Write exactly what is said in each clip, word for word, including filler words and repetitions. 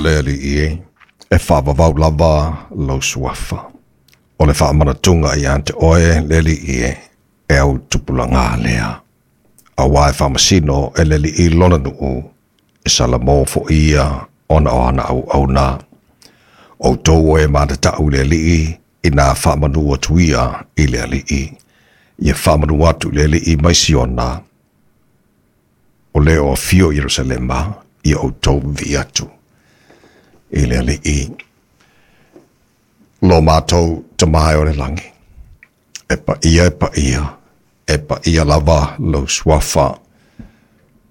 Le alii e, e faavavau lava lou suafa. O le faamanatuga ia te oe le alii e, e au tupulaga lea. Auā e faamasino e le alii lona nuu, e salamo foʻi ia ona o ana auauna. Outou o e matataʻu i le alii, ina faamanu atu ia i le alii. Ia faamanu atu i le alii mai Siona, o le o afio i Ierusalema, ia outou vivii atu i le alii. Lo matou Tama e o le lagi, e paia e paia, e paia lava lou suafa.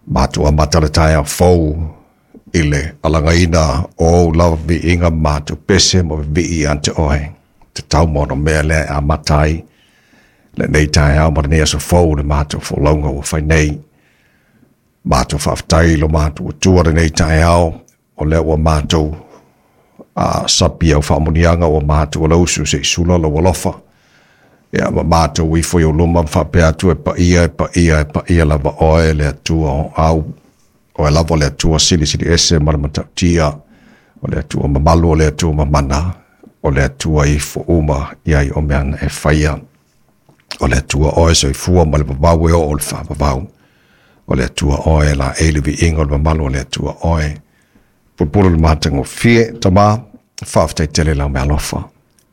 Matou amata le taeao fou i le alagaina o ou lava viiga ma matou pese ma vivii ia te oe. Tatau ma ona mea lea e amata ai lenei taeao ma lenei aso fou le matou folauga ua fai nei. Matou faafetai i lo matou Atua lenei taeao, o lea ua matou a sapi au faamuniaga ua matou alausu se i sula lou alofa. Ia ma matou ifo i ou luma ma faapea atu e paia, e paia, e paia lava oe le Atua o au. Oe lava le Atua silisili ese ma le matautia, o le Atua mamalu, o le Atua mamana, o le Atua ifo uma i ai o mea na e faia. O le Atua oe soifua ma le vavau e oo o le faavavau. O le Atua oe la e le viiga o le mamalu o le Atua oe. Pulupulu le matagofie, Tama, faafetai tele lau meaalofa.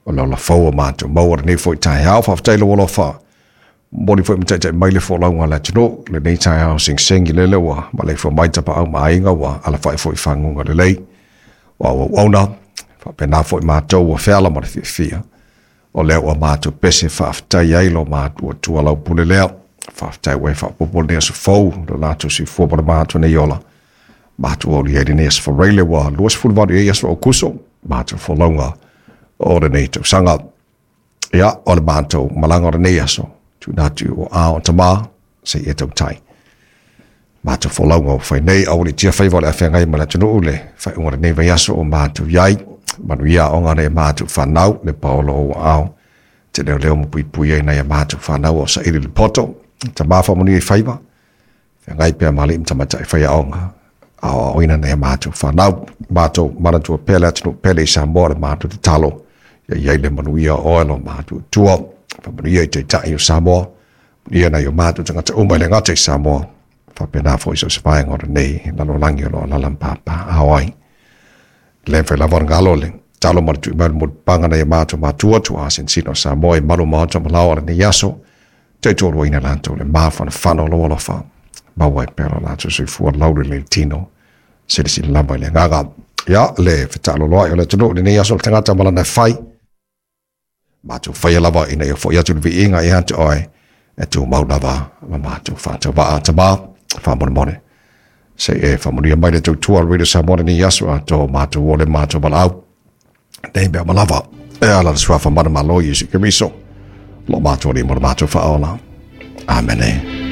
O le ola fou o matou maua lenei foi taeao, faafetai lou alofa. Momoli foi ma taitai mai le folauga a le atunuu, lenei taeao segisegi lele ua maleifua mai tapaau ma aiga ua alafai foi i faguga lelei. O au auauna, faapena foi matou ua feala ma le fiafia. O lea ua matou pese faafetai ai lo matou Atua lau pule lea. Faafetai ua e faaopoopo lenei aso fou, lo latou soifua ma le matou nei ola. Matou aulia ai lenei aso Faraile ua luasefulu valu i ai aso Aokuso, matou folauga o lenei tausaga. Ia, o le matou malaga o lenei aso, tuuina atu i o ao Tama, se i e tautai. Matou folauga o fai nei, aua ne i tia faiva o le afeagai ma le atunuu le faaiuga o lenei vaiaso o matou i ai. Manuia aoga nei matou whanau, le paolo o ao. Te leo leo ma puipui ai nai a matou whanau o saili le poto. Tama whaamanuia i faiva, feagai pea ma alii ma tamaitai faiaoga. Aoaoina nai a matou whanau. Matou manatua pea le atunuu pele i Samoa le matou tatalo. Ia i ai le manuia o oe lo matou Atua. Faamanuia i taitai o Samoa. Manuia nai o matou tagata uma i le gata i Samoa. Faapena foi so o se vaega o lenei lalolagi o lo o alaala ma papaaao ai. Le mafai lava ona galo le talo ma le tui mai le mulipapaga nai a matou matua tuaa sinosino o Samoa i malu maota ma laoa lenei aso. Tautualuaina latou le mafanafana o lou alofa. Maua ai pea lo latou soifua laulelei le tino. Silasila lava i le agaga. Ia, le fetaaloloai o le atunuu lenei aso o le tagata ma lana e fai. Matou faia lava ina ia foʻi atu le viiga ia te oe e tumau lava ma matou faatauvaa. Tama, faamolemole. Se i e faamanuia mai le tautua o le Radio Samoa lenei aso atoa matou o le matou valaau. Nei mea uma lava. E ala le suafa manumalo Iesu Keriso. Lo matou Alii ma le matou faaola. Amene.